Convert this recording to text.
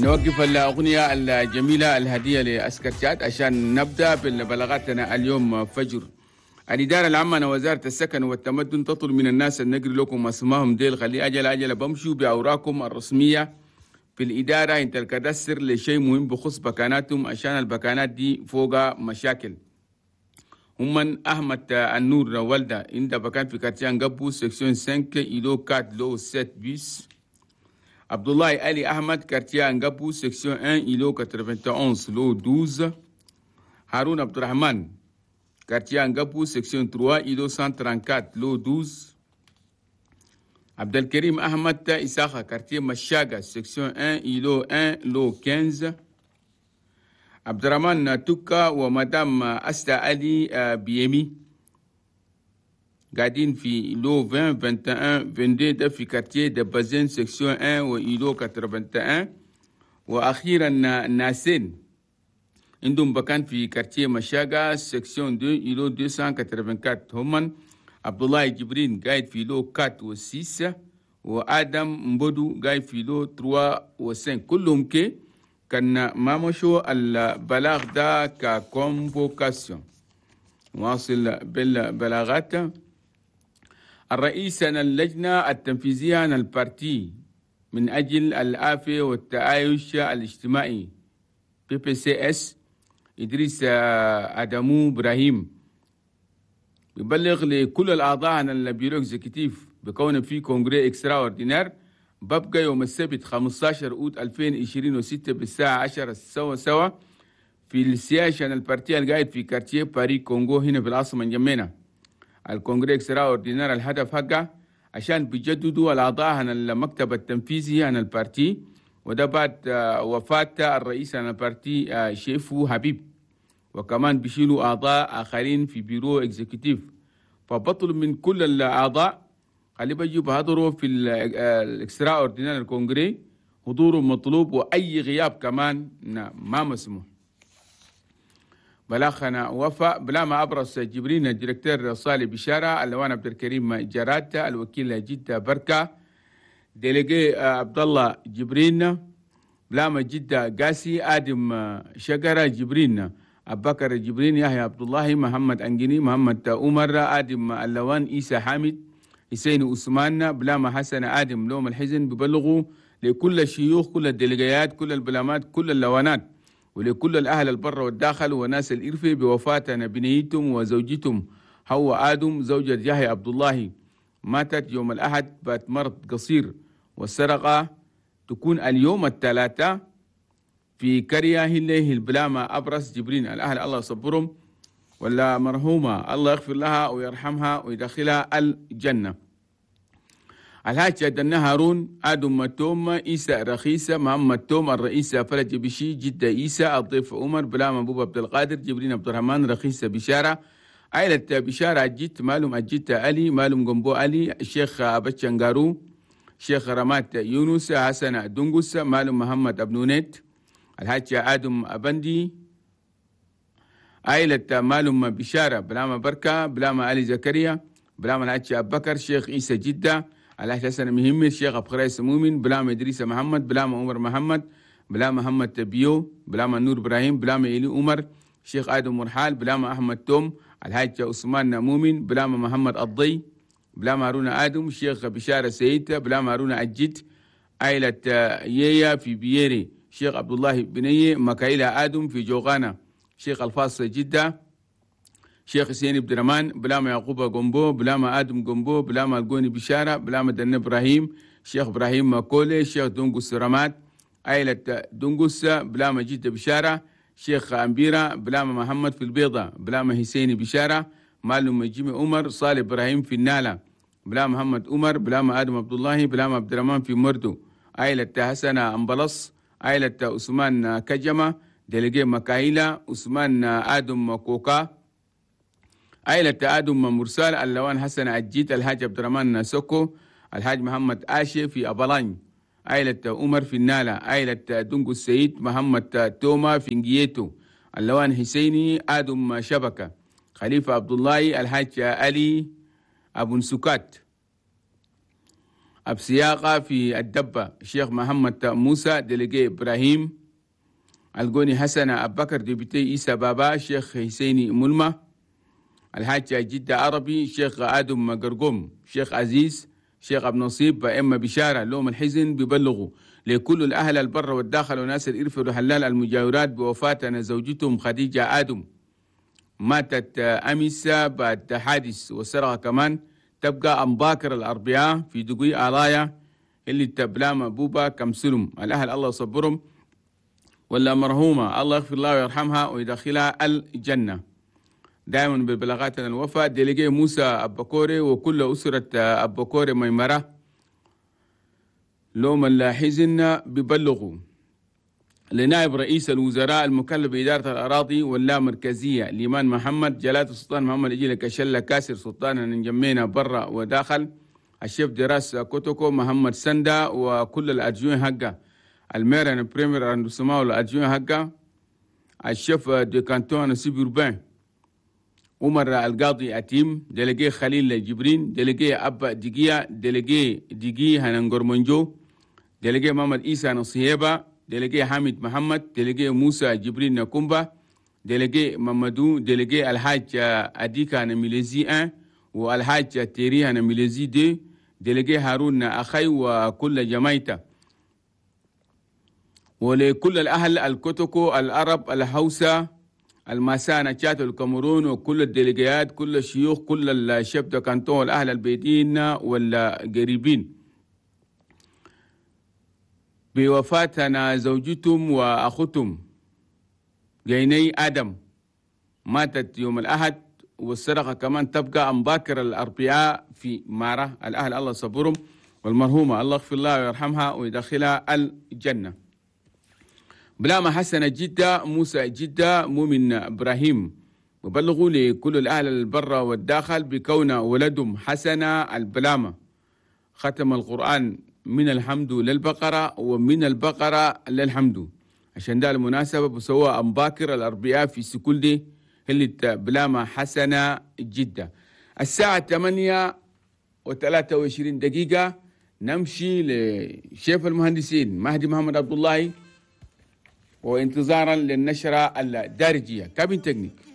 نوقف الأغنية الجميلة الهدية لأسكر شاد عشان نبدأ بالبلاغاتنا اليوم فجر. الإدارة العامة وزارة السكن والتمدن تطلب من الناس النقل لكم اسمائهم ديل، خلي أجل أجل بمشوا بأوراقكم الرسمية في الإدارة انت ال cadastre لشيء مهم بخص بكاناتهم، عشان البكانات دي فوق مشاكل. هم أحمد النور والدة عند بكان في quartier قبو section 5 îlot 4 lot 7 bis. عبد الله علي أحمد quartier قبو section 1 îlot 91 lot 12. هارون عبد الرحمن quartier قبو section 3 îlot 134 lot 12. عبد الكريم أحمد إساخة quartier مشاقة section 1 îlot 1 lot 15. عبد الرحمن توكا ومدام أستا علي بيمي قاعدين في lot 20 21 22 ده في quartier دبازين section 1 و îlot 81. وأخيرا ناسين عندهم بكان في quartier مشاقة section 2 îlot 284. هم عبد الله جبرين قاعد في lot 4 و 6، وآدم مبودو قاعد في lot 3 و 5. كلهم كي كان ما مشوا البلاغ ده ك convocation. واصل بالبلاغات. الرئيس اللجنة التنفيذية عن ال parti من أجل العافية والتعايش الاجتماعي PPCS إدريس أدمو إبراهيم يبلغ لكل الأعضاء عن ال bureau exécutif بكون في congrès extraordinaire ببقى يوم السبت 15 أوت 2026 بالساعة 10 سوا سوا في ال siège عن ال parti القاعد في quartier باري كونغو هنا في العاصمة نجمينا. ال congrès extraordinaire الهدف حقه عشان بيجددوا الأعضاء عن المكتب التنفيذي عن ال parti، وده بعد وفاة الرئيس عن ال parti شيفو حبيب، وكمان بيشيلوا أعضاء آخرين في bureau exécutif. فبطلب من كل الأعضاء خلي بيجوا بحضروا في ال extraordinaire congrès، حضوره مطلوب وأي غياب كمان ما مسموح. بلاخنا وفاء بلا ما أبرز جبرين ال directeur صالح بشارة، اللوان عبد الكريم جرات، الوكيل جدة بركة، délégué عبد الله جبرين، بلا ما جدة قاسي، آدم شجرة جبرين، أبو بكر جبرين، يحيى عبد الله، محمد أنجني، محمد عمر، آدم اللوان، إيسى حامد، حسين عثمان، بلاما حسن آدم. لوم الحزن ببلغوا لكل الشيوخ، كل الديليجيات، كل البلامات، كل اللوانات، ولكل الأهل البر والداخل وناس الإرفي بوفاة بنيتهم وزوجتهم حواء آدم زوجة يحيى عبد الله، ماتت يوم الأحد بعد مرض قصير، والسرقة تكون اليوم الثلاثاء في كريا هله البلامة أبرس جبرين. الأهل الله يصبرهم، ولا مرحومة الله يغفر لها ويرحمها ويدخلها الجنة. الحاج دنا هارون، آدم توم، إيسى رخيصة، محمد توم، الرئيس فرج بشي، جدة إيسى، الضيف عمر، بلام أبو عبد القادر، جبرين عبد الرحمن، رخيصة بشارة، عائلة بشارة أجيت، مالهم أجيت علي، مالهم جنبو علي، الشيخ أبتشنغارو، شيخ رمات يونس، حسن دنقس، مالهم محمد أبنونيت، الحاج آدم أبندي، عائلة مالهم بشارة، بلاما بركة، بلاما علي زكريا، بلاما الحاج أبو بكر، شيخ عيسى جدة، الحاج حسن مهمي، الشيخ أبو خريس مؤمن، بلاما إدريس محمد، بلاما عمر محمد، بلاما محمد بيو، بلاما نور إبراهيم، بلاما إلي عمر، شيخ آدم مرحال، بلاما أحمد توم، الحاج عثمان مؤمن، بلاما محمد الضي، بلاما هارون آدم، شيخ بشارة سيد، بلاما هارون أجد، عائلة ييا في بييري، شيخ عبد الله بنية، مكايلة آدم في جوغانا، شيخ الفاص جدة، شيخ حسين عبد الرحمن، بلاما يعقوب جومبو، بلاما آدم جومبو، بلاما الجوني بشارة، بلاما دن إبراهيم، شيخ إبراهيم ماكولي، شيخ دونجوس رماد، عائلة دونجوس، بلاما جدة بشارة، شيخ أمبيرة، بلاما محمد في البيضة، بلاما حسين بشارة، مالو جيمي عمر، صالح إبراهيم في النالة، بلاما محمد عمر، بلاما آدم عبد الله، بلاما عبد الرحمن في مردو، عائلة حسن أمبلص، عائلة عثمان كجمة، délégué مكايلة، عثمان آدم كوكا، عائلة آدم مرسال، اللوان حسن أجيت، الحاج عبد الرحمن سوكو، الحاج محمد آشي في أبلاني، عائلة عمر في النالة، عائلة دونجو السيد، محمد توما في نجيتو، اللوان حسيني، آدم شبكة، خليفة عبد الله، الحاج علي أبو نسكات. أبسياقة في الدبة الشيخ محمد موسى délégué إبراهيم القوني حسن أبكر député إيسا بابا الشيخ حسيني ملمة الحاج جدة عربي الشيخ آدم قرقوم الشيخ عزيز الشيخ أبو نصيب إما بشارة لوم الحزن ببلغوا لكل الأهل البر والداخل وناس الإرف والحلال المجاورات بوفاة زوجتهم خديجة آدم، ماتت أمس بعد حادث وسرقة كمان. تبقى أمباكر الأربعاء في دقي آلايا اللي تبلام بوبا كمسلم. الأهل الله يصبرهم، ولا مرحومة الله يغفر لها ويرحمها ويدخلها الجنة. دائما ببلاغاتنا الوفاة délégué موسى أبكوري وكل أسرة أبكوري ميمرة لوم الحزن ببلغوا لنائب رئيس الوزراء المكلف بإدارة الأراضي واللامركزية ليمان محمد جلالة السلطان محمد إجيل كشلة كاسر سلطان نجمينا برا وداخل ال chef de race كوتوكو محمد سندا وكل ال adjoints حقه ال maire premier arrondissement وال adjoint حقه ال chef de canton suburbain عمر القاضي أتيم délégué خليل جبرين délégué أبا دقية délégué دقي هننقرمنجو délégué محمد إيسى نصيبة délégué حامد محمد délégué موسى جبرين نكومبا délégué مامادو délégué الحاج أديكا نميليزي 1 والحاج تيري نميليزي 2 délégué هارون أخي وكل جمايته ولكل الأهل الكوتوكو العرب الهوسة الماسانة تشات الكاميرون وكل الديليجيات كل الشيوخ كل ال chefs de canton الأهل البيدين والقريبين بوفاتنا زوجتهم وأختهم جيني آدم ماتت يوم الأحد، والسرقة كمان تبقى أمباكر الأربعاء في مارة. الأهل الله صبرهم، والمرحومة الله يغفر لها ويرحمها ويدخلها الجنة. بلاما حسن جدة موسى جدة مؤمن إبراهيم وبلغوا لكل الأهل البر والداخل بكون ولدهم حسن البلامة ختم القرآن من الحمد للبقرة ومن البقرة للحمد. عشان ده المناسبة بسوى أمباكر الأربعاء في سكولدي اللي بلامة حسنة جدة. الساعة 8:23 نمشي لشيف المهندسين مهدي محمد عبد الله وانتظارا للنشرة الدارجية. cabine technique.